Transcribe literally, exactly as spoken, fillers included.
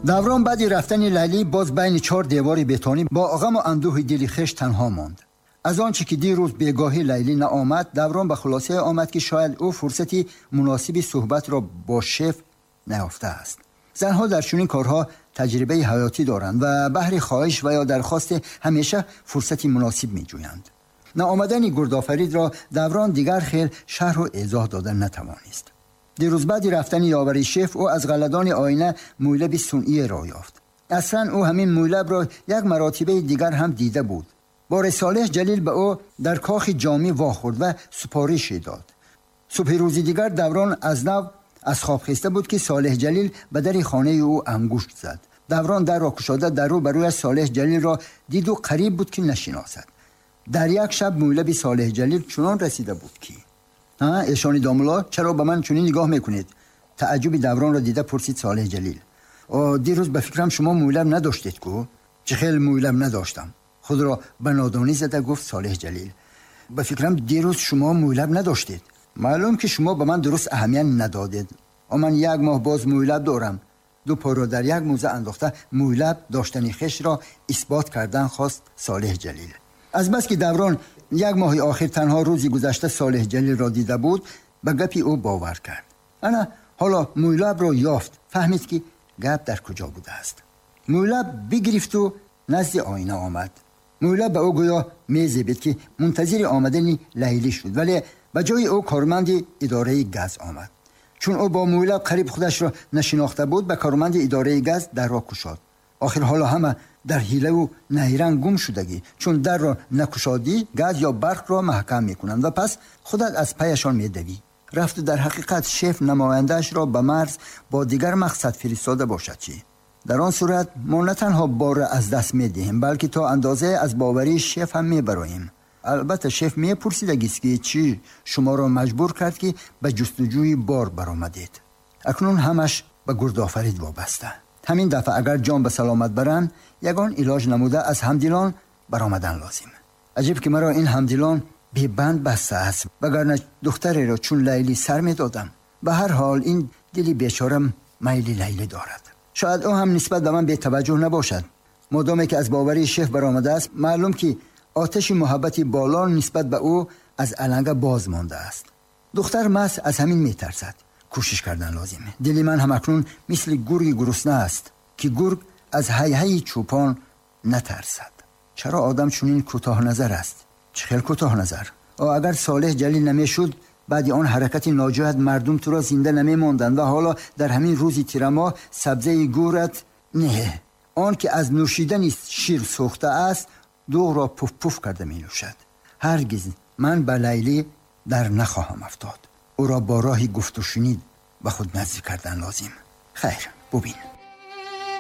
Даврон баъди рафтани Лайлӣ боз байни чор девори бетонӣ бо ғаму андӯҳи дили хеш танҳо монд. Аз он чӣ ки дирӯз бегоҳӣ Лайлӣ наомад, Даврон ба хулосае омад, ки шояд ӯ фурсати муносиби суҳбатро бо шеф наёфтааст. Занҳо дар чунин корҳо таҷрибаи ҳаётӣ доранд ва баҳри хоҳиш ва ё дархосте ҳамеша фурсати муносиб меҷӯянд. Наомадани Гурдофаридро Даврон дигар хел шарҳу эзоҳ дода натавонист. Дирӯз баъди рафтани ёвари шеф ӯ аз ғалладони оина мӯйлаби сунъиеро ёфт. Аслан ӯ ҳамин мӯйлабро як маротибаи дигар ҳам дида буд. Бори Солеҳ Ҷалил ба ӯ дар кохи ҷомӣ вохӯрд ва супорише дод. Субҳи рӯзи дигар Даврон аз нав аз хоб хеста буд, ки Солеҳ Ҷалил ба дари хонаи ӯ ангушт зад. Даврон дарро кушода дар рӯ ба рӯяш Солеҳ Ҷалилро диду қариб буд, ки нашиносад. Дар як шаб мӯйлаби Солеҳ Ҷалил чунон расида буд, ки эшони домулло, чаро ба ман чунин нигоҳ мекунед? Таъҷуби Давронро дида пурсид Солеҳ Ҷалил. Дирӯз ба фикрам шумо мӯйлаб надоштед ку? Чӣ хел мӯйлаб надоштам? Худро ба нодонӣ зада гуфт Солеҳ Ҷалил. Ба фикрам дирӯз шумо мӯйлаб надоштед. Маълум ки шумо ба ман дуруст аҳамият надодед. Ман як моҳ боз мӯйлаб дорам. Ду пойро дар як мӯза андохта мӯйлаб доштани хешро исбот кардан хост Солеҳ Ҷалил. Аз бас ки Даврон як моҳи охир танҳо рӯзи гузашта Солеҳ Ҷалилро дида буд, ба гапи ӯ бовар кард. Ана ҳоло мӯйлабро ёфт, фаҳмид, ки гап дар куҷо будааст. Мӯйлаб бигирифту назди оина омад. Мӯйлаб ба ӯ гӯё мезебид, ки мунтазири омадани Лайлӣ шуд, вале ба ҷои ӯ корманди идораи газ омад. Чун ӯ бо мӯйлаб қариб худашро нашинохта буд, ба корманди идораи газ дарро кушод. Охир ҳоло ҳама дар ҳилаву найранг гум шудагӣ, чун дарро накушодӣ газ ё барқро маҳкам мекунанд ва пас худат аз паяшон медавӣ. Рафту дар ҳақиқат шеф намояндаашро ба марз бо дигар мақсад фиристода бошад чӣ? Дар он сурат мо на танҳо борро аз даст медиҳем, балки то андозае аз боварии шеф ҳам мебароем. Албатта шеф мепурсидагист, ки чӣ шуморо маҷбур кард, ки ба ҷустуҷӯи бор баромадед. Акнун ҳамаш ба Гурдофарид вобаста. Ҳамин дафъа агар ҷон ба саломат баранд, ягон илоҷ намуда аз ҳамдилон баромадан лозим. Аҷиб ки маро ин ҳамдилон бебанд баста аст, вагарна духтареро чун Лайлӣ сар медодам. Ба ҳар ҳол ин дили бечорам майли Лайлӣ дорад. Шояд ӯ ҳам нисбат ба ман бетаваҷҷӯҳ набошад. Модоме ки аз боварии шеф баромадааст, маълум ки оташи муҳаббати боло нисбат ба ӯ аз аланга боз мондааст. Духтар маҳз аз ҳамин метарсад. Кӯшиш кардан лозим. Дили ман ҳам акнун мисли гурги гурусна аст, ки гург аз ҳайҳайи чӯпон натарсад. Чаро одам чунин кӯтоҳназар аст? Чӣ хел кӯтоҳназар? О, агар Солеҳ Ҷалил намешуд, баъди он ҳаракати ноҷоят мардум туро зинда намемонданд ва ҳоло дар ҳамин рӯзи тирамоҳ сабзаи гӯрат не, он ки аз нӯшидани шир сӯхта аст, дуғро пуф-пуф карда менӯшад. Ҳаргиз ман ба Лайлӣ дар нахоҳам афтод. Ӯро бо роҳи гуфтушунид ба худ наздик кардан лозим. Хайр, бубин.